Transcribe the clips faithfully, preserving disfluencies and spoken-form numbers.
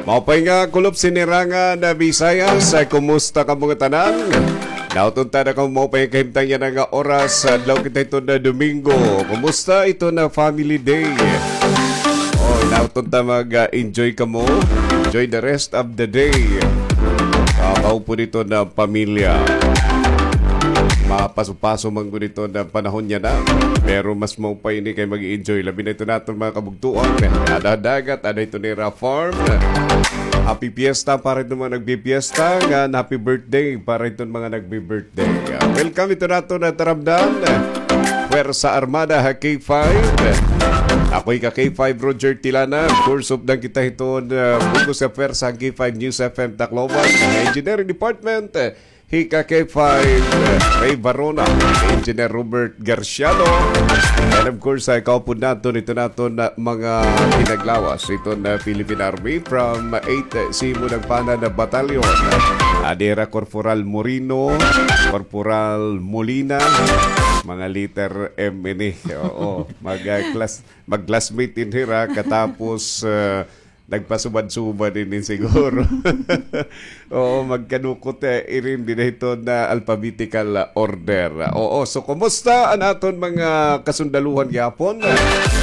Maupay nga kulop, sinirangan na Bisayas, kumusta kamo ngatanan? Nauton ta na kamo maupay kahimtang yana nga oras, adlaw kita iton Domingo. Kumusta iton family day? O, nauton ta mag-enjoy kamo. Enjoy the rest of the day. Ah, maupod iton pamilya. Mapaso-paso man gud iton panahon yana. Pero mas maupay ini kay mag-enjoy. Labi na iton aton mga kabugtoan. Ada dagat, ada iton nira farm. Happy fiesta para iton mga nagpipiesta. Ngan happy birthday para iton mga nagbi-birthday. Ah, welcome iton aton taramdan. Puwersa Armada ha K five. Ako hi ka K five, Roger Tilana. Of course, updan kita hiton, ah, bug-os nga puwersa han K five News F M Tacloban. Engineering Department, ah, hi ka K five, ah, Ray Barona, Engineer Robert Garciano. And of course, ah, kaupod naton, iton aton, ah, mga pinaglawas hiton, ah, Philippine Army from eight, ah, Simo Nagpana na Battalion. Adi hira Corporal Moreno, Corporal Molina, mga letter M ini. Oo, mag, ah, class, mag-classmate ini hira, katapos, ah, nagpasubad-subad ini siguro. Oo, magkanukot, eh, irin dida hiton alphabetical order. Oo, so kumusta an aton mga kasundaluhan gihapon?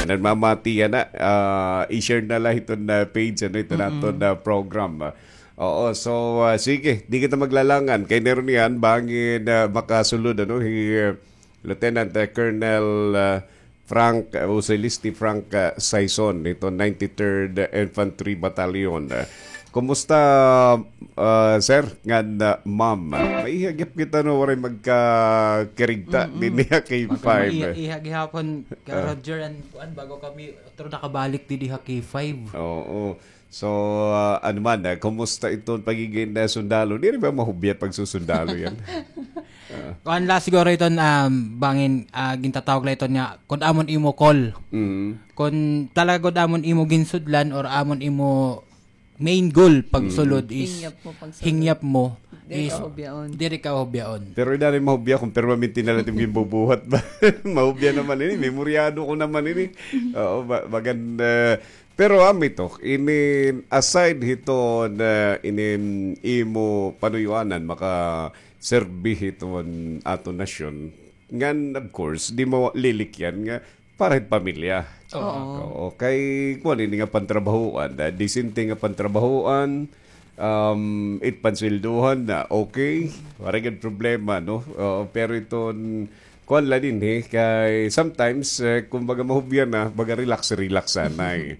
Nagmamati yana, ah, i-share na la hiton page, ano, hiton aton program. Oo, so, ah, sige, di kita maglalangan. Kay meron niyan, bangin, ah, makasulod, ano, hi, ah, Lieutenant, ah, Colonel, ah, Frank, ah, o si Listi Frank, ah, Saison, nito ninety-third Infantry Battalion. Ah, kumusta, ah, sir? Ngan, ah, ma'am? Maiha gihap kita, no, waray magkakirigta dinhi ha K five. Maiha, iha gihapon ka, Roger, an kuan, bago kami otro nakabalik didi ha K five. Oo. So, ah, ano man, ah, kumusta iton pagiging, ah, sundalo? Diri ba mahubya pagsusundalo yana? Kuan la siguro iton, um, bangin, ah, gintatawag la iton nga, kun amon imo call. Kun talaga gud amon imo ginsudlan or amon imo main goal pagsulod is hingyap mo pagsulod. Hingyap mo is diri ka hubyaon. Pero diri mahubya kon permanente na la it imo ginbubuhat ba? Mahubya naman ini, memoryado ko naman ini. Oo, ba-, bagan, ah, pero, ah, amo ito, ini, aside hiton, ah, ini imo panuyoanan, makaserbi hiton aton nasyon. Ngan, of course, di mo lilikyan nga para hit pamilya. Oo. Oo, kay kuan ini nga pantrabahoan, ah, disente nga pantrabahoan, um, it pansweldohan na, okay, waray gad problema, no? Oo, pero iton, kuan la dinhi, kay sometimes, eh, kumbaga mahubya na, baga relax, relax anay.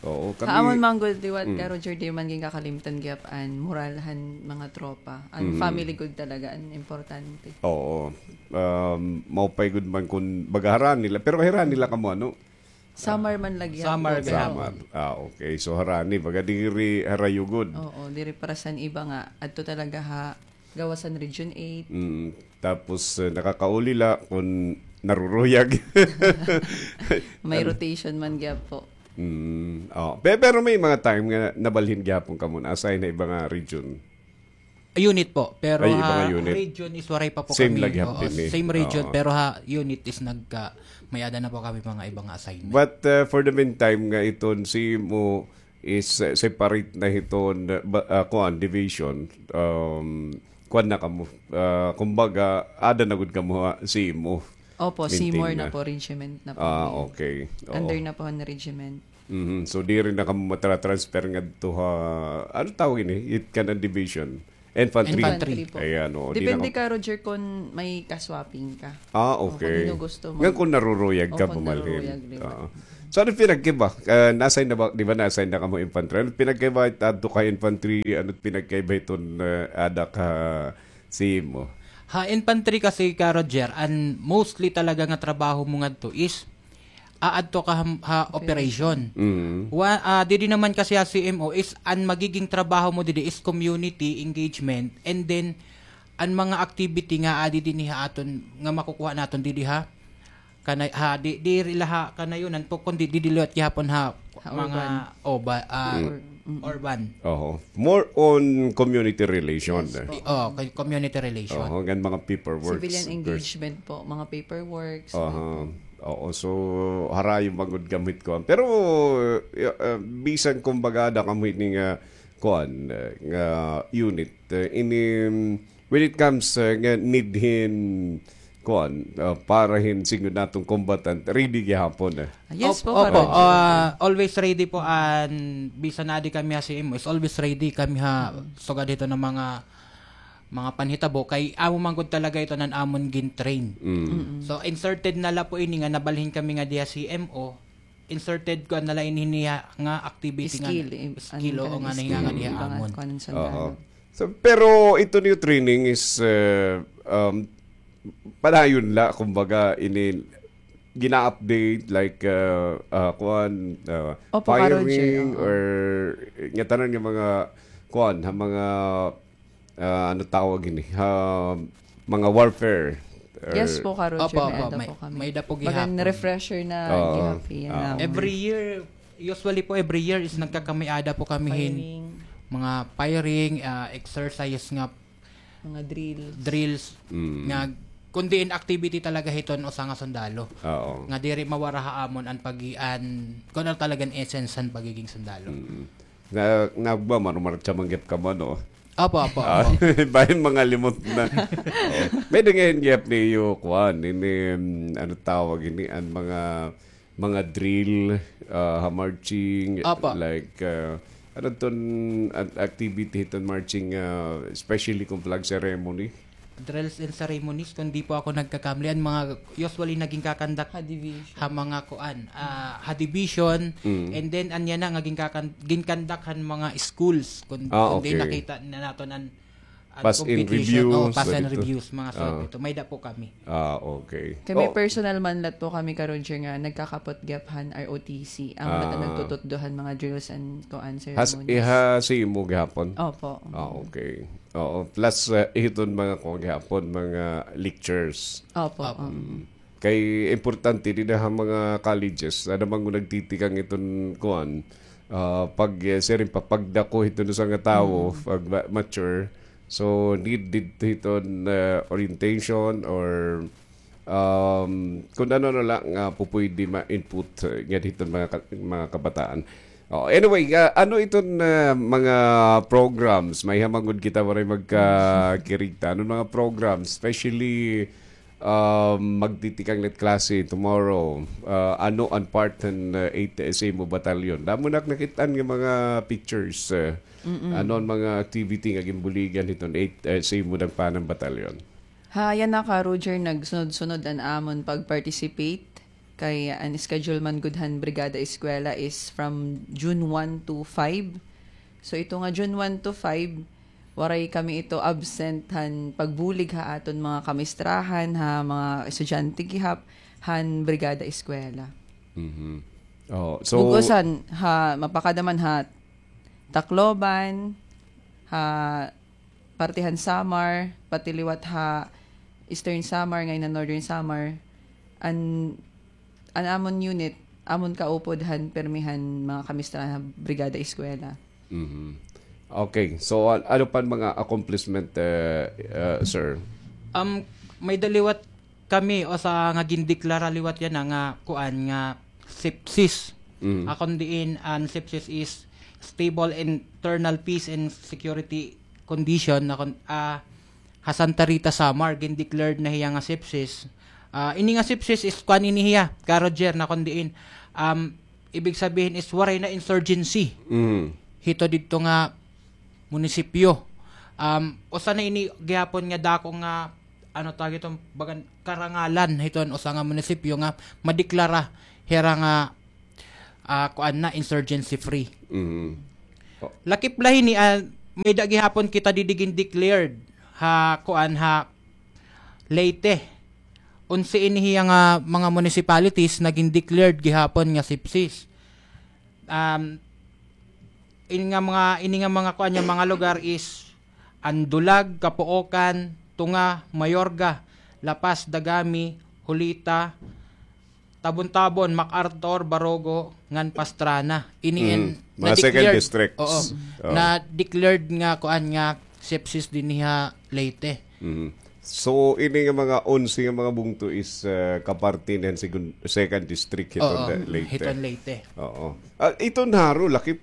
Oo, kami. Ha amon man gud liwat ka, Roger, di man gin kakalimtan gihap an moral han mga tropa. An family gud talaga an importante. Oo. Um, maupay gud man kun baga harani la, pero harani la kamo, ano? Samar man la gihap. Samar gihap. Samar. Ah, okay. So, harani, baga diri harayo gud. Oo, diri para san iba nga adto talaga ha gawas han Region eight. Mm. Tapos, eh, nakakauli la kun naruruyag. May rotation man gihap po. Mm. Oh, pe-, pero may mga time nga nabalhin gihapon kamo, na-assign ha iba nga region. Unit po, pero ha region is waray pa po kami. Same la gihap dinhi. Same region, pero ha unit is nagka-, may-ada na po kami mga iba nga assignment. But, uh, for the meantime nga iton simo is, uh, separate na hiton, uh, ba-, uh, kuan, division, um, kuan na kamo, uh, kumbaga, ada na gud kamo ha simo. Opo, simo na po, regiment na po. Ah, okay. Oo. Under na po han regiment. Mhm. So, diri na kamo matra-transfer ngadto ha, ano tawag ini? It kanan division? Infantry. Infantry po. Ayan, oo. Depende ka, Roger, kon may ka-swapping ka. Ah, okay. O, kon hin-o gusto mo. Ngan kon naruruyag ka, pumalhin. Naruruyag, liwat. Oo. So, ano pinagkaiba? Ah, na-assign na ba, di ba na-assign na kamo infantry? Ano pinagkaiba it adto ka infantry, ano pinagkaiba hiton, ah, ada ka simo? Ha infantry kasi ka, Roger, an mostly talaga nga trabaho mo ngadto is aadto ka ha, ha operation. Mm. Wa-, ah, didi naman kasi ha C M O is an magiging trabaho mo didi is community engagement, and then an mga activity nga adi dinhi ha aton nga makukuha naton didi ha kana-, ha, di, diri la ha Kanayonan po, kundi didi liwat gihapon ha mga urban. Oho. More on community relation. Yes po. Di-, oh, kay community relation. Oho, ngan mga paperworks. Civilian engagement po, mga paperworks. Oho. Oo, so, harayo man gud kamo hit kuan. Pero, uh, uh, bisan kumbaga ada kamo hini nga, uh, kuan, eh, nga unit, eh, ini, mm, when it comes, eh, nga need hin, kuan, ah, para hin siring naton combatant, ready gihapon, eh. Yes po, Karon. Opo, ah, always ready po, an bisan adi kami ha C M O, is always ready kami ha sugad hiton nga mga, mga panhitabo, kay amo man gud talaga ito nan amon gin-train. So, inserted na la po ini nga nabalhin kami nga diha C M O, inserted ko na la ini niya nga activity nga skill, oo, nga nahinga nga diha amon. So, pero ito niyo training is, uh, um, padayon la, kumbaga, ini gina-update, like, uh, uh, kuan, uh, firing, or ngatanan nga mga, kuan, ha mga, ah, ano tawag ini? Ha, mga warfare. Yes po, Ka Roger, may-ada po kami. May-ada po gihapon. Bagan refresher na gihapon. Every year, usually po every year is nagkakamay-ada po kami hin mga firing, ah, exercise nga mga drills. Drills nga kundi in activity talaga hiton usa nga sundalo. Nga diri mawara ha amon an pagi-, an, kun ano talaga an essence han pagiging sundalo. Na, nagba, marumarcha man gihap ka man, no? Apo, apo, apo. Bahin mga limot na. May da ngay-an gihap niyo, kuan, ini, mm, ano tawag ini, an mga, mga drill, ah, ha marching, like, ah, ano ton, an activity ton marching, ah, especially kon flag ceremony? Drills and ceremonies, kon di po ako nagkakamali, an mga usually naging kakandak ha mga kuan, ah, ha division, and then anya na nga ginkakan-, ginkandak han mga schools, kon, kon di nakita na naton an, an competition, pass and reviews, mga suwat ito. May-ada po kami. Ah, okay. Kami personal man lat po kami, Ka Roger, nga nagkakapot gihap han R O T C, amo lat an nagtututdo han mga drills and kuan, ceremonies. Has-, iha sa imo gihapon? Opo. Ah, okay. Oo, plus, eh, hiton mga kuan gihapon, mga lectures. Opo. Kay importante dida ha mga colleges, ada man nagtitikang iton kuan, ah, pag, eh, siring pa, pagdako hiton usa nga tawo, pag ma-, mature. So, need didto hiton, eh, orientation or, um, kun ano na la nga pupuydi ma-input, eh, ngada hiton mga ka-, mga kabataan. Oh, anyway, ah, ano iton, ah, mga programs? May-ada man gud kita waray magkakirigta. Ano mga programs? Especially, um, magtitikang na it klase tomorrow. Ah, ano an part han, ah, eight S A mo batalyon? Damo na ak nakit-an nga mga pictures, ah. Ano an mga activity nga ginbuligan hiton eight S A mo dangpanan batalyon? Ha, yana, Ka Roger, nagsunod-sunod an amon pag-participate. Kay an schedule man gud han Brigada Eskwela is from June one to five. So, ito nga June one to five, waray kami ito absent han pagbulig ha aton mga kamistrahan, ha mga estudyante gihap han Brigada Eskwela. Mhm. Oh, so bug-osan, ha, mapakada man ha Tacloban, ha parte han Samar, pati liwat ha Eastern Samar, ngay-an Northern Samar, an, an amon unit, amon kaupod han pirmi han mga kamistrahan ha Brigada Eskwela. Mhm. Okay. So, an-, ano pa an mga accomplishment, eh, eh, sir? Um, may-ada liwat kami usa nga gindeklara liwat yana nga kuan nga sepsis. Mm. Akon diin an sepsis is stable internal peace and security condition na kun-, ah, ha Santa Rita, Samar, gindeclared na hiya nga sepsis. Ah, ini nga sepsis is kuan ini hiya, Ka Roger, na kun diin, um, ibig sabihin is waray na insurgency. Mm. Hito didto nga munisipyo. Um, usa na ini gihapon nga dako nga, ano tawag ito, bagan karangalan hiton usa nga munisipyo nga madeklara hira nga, ah, kuan na, insurgency free. Mm. Lakip la hini, ah, may-ada gihapon kita didi gindeclared ha kuan, ha Leyte. Onse ini hiya nga mga municipalities na gindeclared gihapon nga sepsis. Um, ini nga mga, ini nga mga kuan niya, mga lugar is an Dulag, Capoocan, Tunga, Mayorga, La Paz, Dagami, Julita, Tabon-Tabon, MacArthur, Barogo, ngan Pastrana. Ini an mga second districts. Oo. Na-declared nga kuan nga sepsis dinhi ha Leyte. Mhm. So, ini nga mga onse nga mga bungto is, ah, kaparte niyan segun-, second district hiton Leyte. Oo, hiton Leyte. Oo. Ah, iton haro, lakip.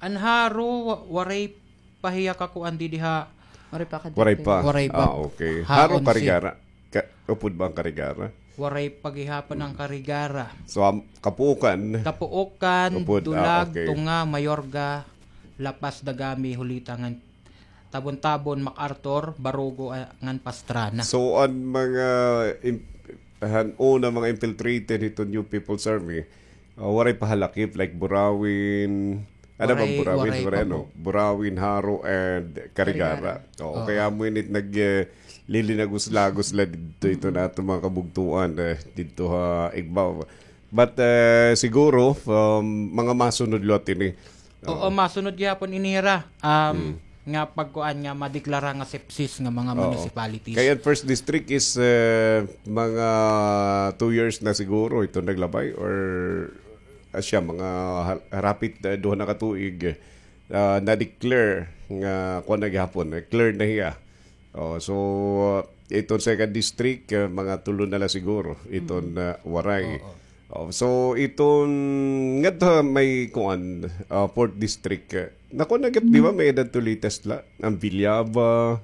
An Jaro, wa-, waray pa hiya kakuan didi ha. Waray pa ka-declare. Waray pa. Waray pa. Ah, okay. Ha, Jaro, onse. Carigara. Ka-, upod ba an Carigara? Waray pa gihapon an Carigara. So, am, Kapuukan. Kapuukan, upod, ah, Dulag, okay. Tunga, Mayorga, La Paz, Dagami, Julita, ngan Tabon-Tabon, MacArthur, Barugo, ah, ngan Pastrana. So, an mga im-, han una mga infiltrated hiton New People's Army, ah, waray pa halakip, like Burauen, ano ba, waray, Burauen, waray pa, ano? Burauen, Jaro, and Carigara. Carigara. Oo, oo. Kay amo ini it nag, eh, lilinagos-lagos la didto, ito na aton mga kabugtoan, eh, didto ha Igbaw. But, eh, siguro, um, mga masunod liwat ini. Oo, masunod gihapon ini hira. Um, nga pagkuan nga madeklara nga sepsis nga mga municipalities. Kay an first district is, eh, mga two years na siguro ito naglabay or, ah, siya, mga ha-, harapit, eh, duha na ka tuig, ah, na-declare nga kuan na gihapon, eh, clear na hiya. Oh, so, uh, iton second district, uh, mga tulo na la siguro iton, uh, waray. Oo. Oh, so, iton ngadto may kuan, uh, fourth district, uh, nakuan na gihap, di ba, may-ada didto latest la, an Villaba,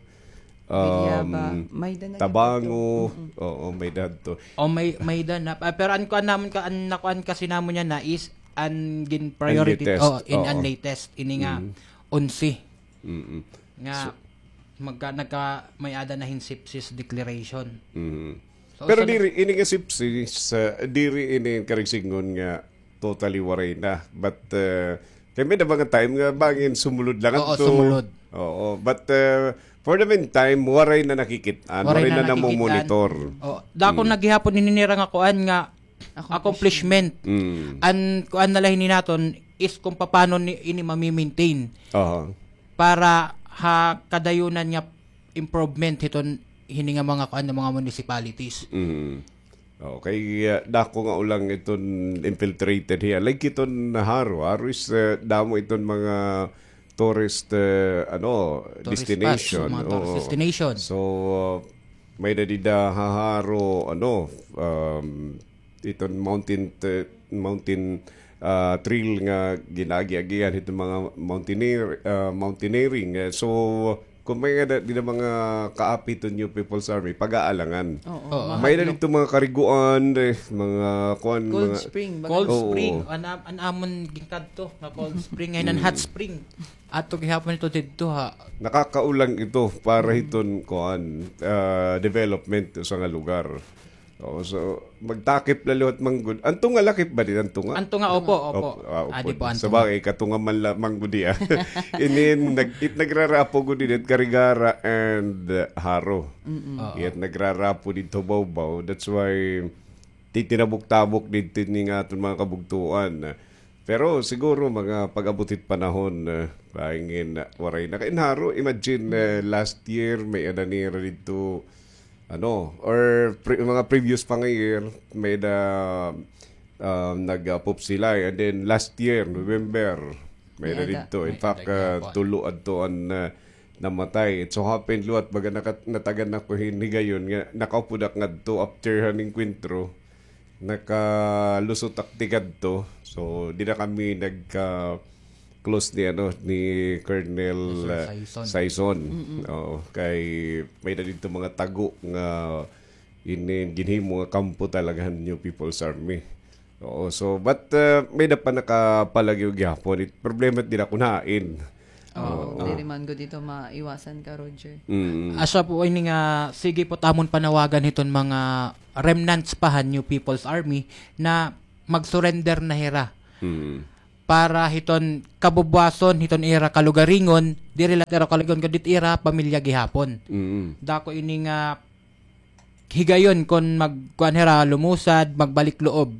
um, Villaba, may-ada na Tabango, gihap didto. Oo, may-ada didto. Oh, may, may-ada na. Ah, pero an kuan namon ka, an nakuan kasi namon yana is an gin-priority, an latest, oh, in an latest, ini nga onse. Nga magka-, nagka-, may-ada na hin sepsis declaration. So, pero diri, ini nga sepsis, uh, diri ini karuyag sidngon nga totally waray na. But, uh, kay may-ada mga time nga bangin sumulod la ngadto. Oo, sumulod. Oo, but, uh, for the meantime, waray na nakikit-an, waray na namomonitor. Oh, dako na gihapon ini nira nga kuan nga accomplishment. An kuan na la hini naton is kung paano ni, ini mami-maintain. Aha. Para ha kadayunan nga improvement hiton hini nga mga kuan nga mga municipalities. Okay, uh, dako nga ulang iton infiltrated hiya. Like iton Jaro, Jaro is, uh, damo iton mga tourist, uh, ano, destination. Tourist spots, mga tourist destination. So, uh, may-ada dida ha Jaro, ano, um, iton mountain t-, mountain, ah, trail nga gin-aagi-agian hiton mga mountaineer-, ah, mountaineering. Eh, so, kung may-ada dida mga kaapi hiton New People's Army, pag-aalangan. Oo. May-ada didto mga kariguan, eh, mga kuan, cold spring, baga. Cold spring. An am-, an amon ginkadto nga cold spring, ngay-an hot spring. Ato gihapon ito didto, ha. Nakakaulang ito para hiton kuan, ah, development sa nga lugar. Oo, so, magtakip la liwat man gud. An tunga lakip ba dida, an tunga? An tunga, opo, opo. Opo, ah, opo. Adi po, an tunga. Sabagay, katunga man la man gud iya. Ini, nag-, it nagrarapo gud dida, Carigara and, uh, Jaro. Oo. It nagrarapo didto bawbaw. That's why, titinabok-tabok didto ini nga aton mga kabugtoan. Pero siguro mga pag-abot hit panahon, eh, bangin, ah, waray na. Kay in Jaro, imagine, eh, last year, may-ada nira didto, ano, or pre-, mga previous pa nga year, may-ada, um, nag-, ah, pupsilay. And then last year, November, may-ada didto. In fact, ah, tulo adto an, ah, namatay. It so happened liwat, baga nakat-, natagan ako hin higayon nga nakaupod ak ngadto after han engkwentro. Nakalusot ak tikadto. So, dida kami nagka-close ni, ano, ni Colonel, Colonel, uh, Saison. Saison. Oo, kay may-ada didto mga tago nga ini ginhimo nga kampo talaga han New People's Army. Oo, so, but, uh, may-ada pa nakapalagyo gihapon. It problema dida kun hain. Oo, diri man gud ito maiwasan ka, Roger. Asya po ini nga, sige po, tamon panawagan hiton mga remnants pa han New People's Army na mag-surrender na hira. Para hiton kabubuwason, hiton ira kalugaringon, diri la ira kalugaringon, kundi ira pamilya gihapon. Dako ini nga higayon kon magkuan hira, lumusad, magbalik loob.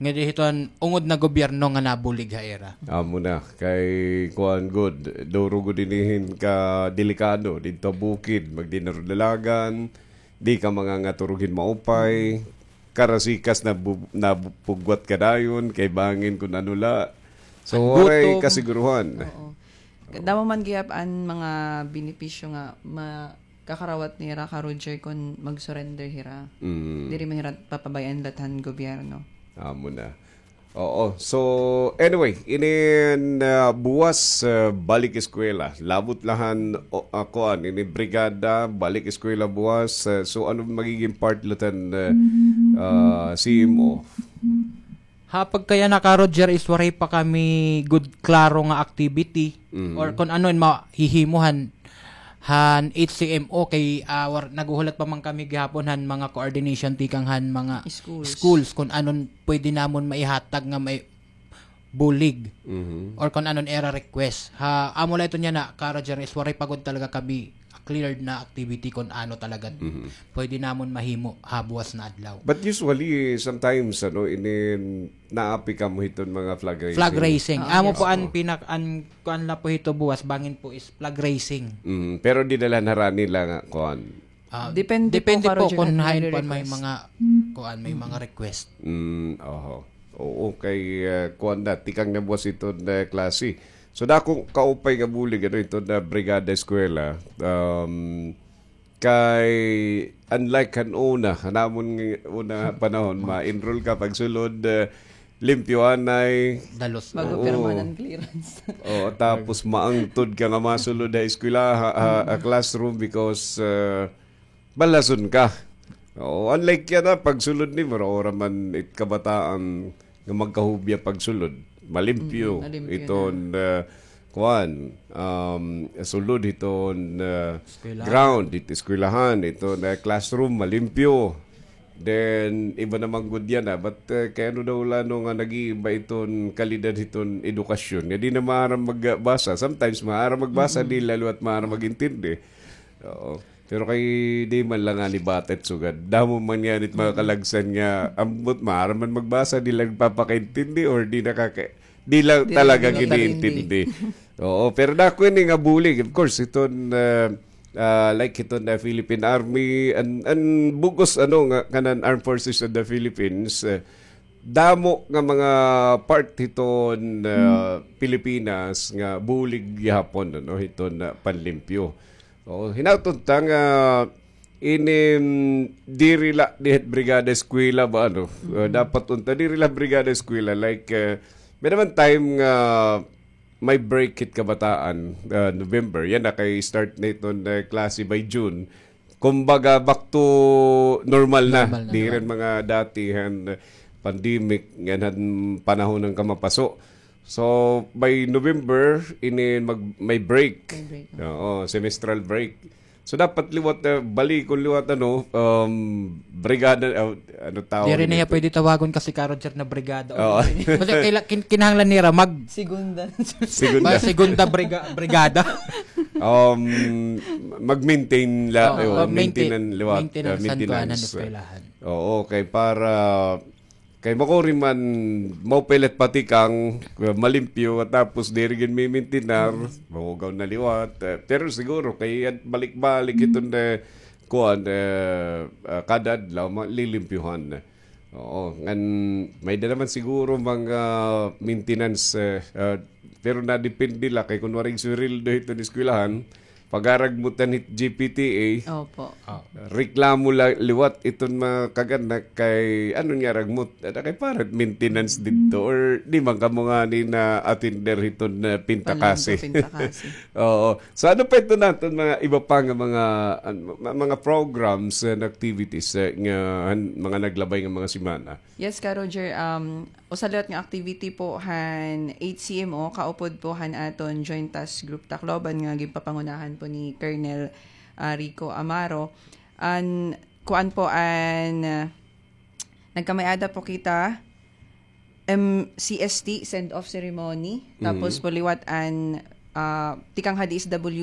Nga di hiton ungod na gobyerno nga nabulig ha ira. Amo na, kay kuan gud, duro gud ini hin kadelikado, didto bukid, magdinarudalagan, di ka mangangaturog hin maupay, karasikas na bu-, napugwat ka dayon, kay bangin kun ano la. So, waray kasiguruhan. Oo. Damo man gihap an mga benepisyo nga ma-, kakarawat nira ka Roger kon mag-surrender hira. Diri man hira papabay-an lat han gobyerno. Amo na. Oo. So, anyway, inin, ah, buwas, ah, balik eskwela. Labot la han, o, ah, kuan, ini brigada, balik eskwela buwas. Ah, so, ano magiging part la han, ah, ah, C M O? Ha pagkayana, Ka Roger, is waray pa kami gud klaro nga activity or kon ano in mahihimo han, han H C M O kay, ah, war-, naghuhulat pa man kami gihapon han mga coordination tikang han mga schools, kun anon pwede namon maihatag nga may bulig or kon anon ira request. Ha, amo la iton yana, Ka Roger, is waray pa gud talaga kami cleared na activity kon ano talaga pwede namon mahimo ha buwas na adlaw. But usually, sometimes, ano, inin naapi kamo hiton mga flag raising. Flag raising. Ah, amo po an pinak-, an kuan la po hito buwas, bangin po is flag raising. Mm, pero dinala na harani la nga kuan. Ah, depende po, depende po kon hain po an may mga kuan, may mga request. Mm, oho. Oo, kay, ah, kuan na, tikang na buwas iton, ah, klase. So, dako kaupay nga bulig, ano, iton, ah, Brigada Eskwela. Um, kay, unlike han una, han amon nga una panahon, ma-enroll ka pagsulod, ah, limpyo anay. Dalos. Bago pirmahan an clearance. Oo, tapos maangtod ka nga masulod ha eskwela, ha, ha, ha classroom because, ah, balason ka. Oo, unlike yana, pagsulod nimo, ora man it kabataan nga magkahubya pagsulod, malimpyo. Mm, malimpyo iton, na. Ah, kuan, um, sulod hiton, ah, eskwelahan. Ground, it eskwelahan, iton, ah, classroom, malimpyo. Then, iba naman gud yana, but, ah, kay ano daw la, no, nga nag-iiba iton kalidad hiton edukasyon. Nga di na maaram magbasa. Sometimes, maaram magbasa, di la liwat maaram mag-intindi. Oo. Pero kay di man la ngani bata it sugad. Damo man ngani it mga kalagsan nga, ambot maaram man magbasa, di la nagpapakaintindi or di nakaka-, di la talaga giniintindi. Oo, pero dako ini nga bulig. Of course, iton, ah, ah, like iton na Philippine Army, an, an bug-os, ano, nga kanan Armed Forces of the Philippines, ah, damo nga mga part hiton, ah, Pilipinas nga bulig gihapon, ano, hiton, ah, panlimpyo. Oo, hinaot unta nga ini, mm, diri la diha Brigada Eskwela ba, ano? Uh, dapat unta diri la Brigada Eskwela, like, uh, may naman time nga may break hit kabataan, uh, November. Yana kay start na iton, uh, klase by June. Kumbaga, back to normal na. Normal na. Diri na mga dati han pandemic, ngan han panahon han kamapaso. So, by November, ini mag-, may break. May break. Oo, semestral break. So, dapat liwat, eh, balikon liwat, ano, um, brigada, uh, ano tawag nito? Diri na hiya pwede tawagon kasi, Ka Roger, na brigada. Oo. Basta kaila-, kin-, kinahanglan nira mag- Segunda. Segunda. Mag-, segunda briga-, brigada. Um, mag-maintain la, oh, maintenance liwat, maintenance, uh, maintenance han eskwelahan. Oo, kay para Kay makuri man, maupay la it patikang, uh, malimpyo, tapos diri gin mimintinar, mahugaw na liwat. Uh, pero siguro, kay balik-balik iton, uh, kuan, uh, uh, kada adlaw, ma-, lilimpyuhan. Oo, ngan may-ada naman siguro mga maintenance, uh, uh, pero nadepende la kay kun waray sweldo hiton eskwelahan, pag-aragmutan hit G P T A, opo, reklamo la liwat iton mga kag-anak kay ano nga aragmot, ada kay para maintenance didto or di man kamo ngani na-attender hiton, uh, pintakasi. Panlangga, pintakasi. Oo. So ano pa iton aton mga iba pa nga mga, an-, ma-, mga programs and activities, uh, nga han-, mga naglabay nga mga semana? Yes, Ka Roger. Um, usa liwat nga activity po han H C M O, kaupod po han aton Joint Task Group Tacloban nga ginpapangunahan po ni Colonel, ah, Rico Amaro. An, kuan po an, ah, nagkamay-ada po kita, M C S T, send-off ceremony. Tapos po liwat an, ah, tikang ha D S W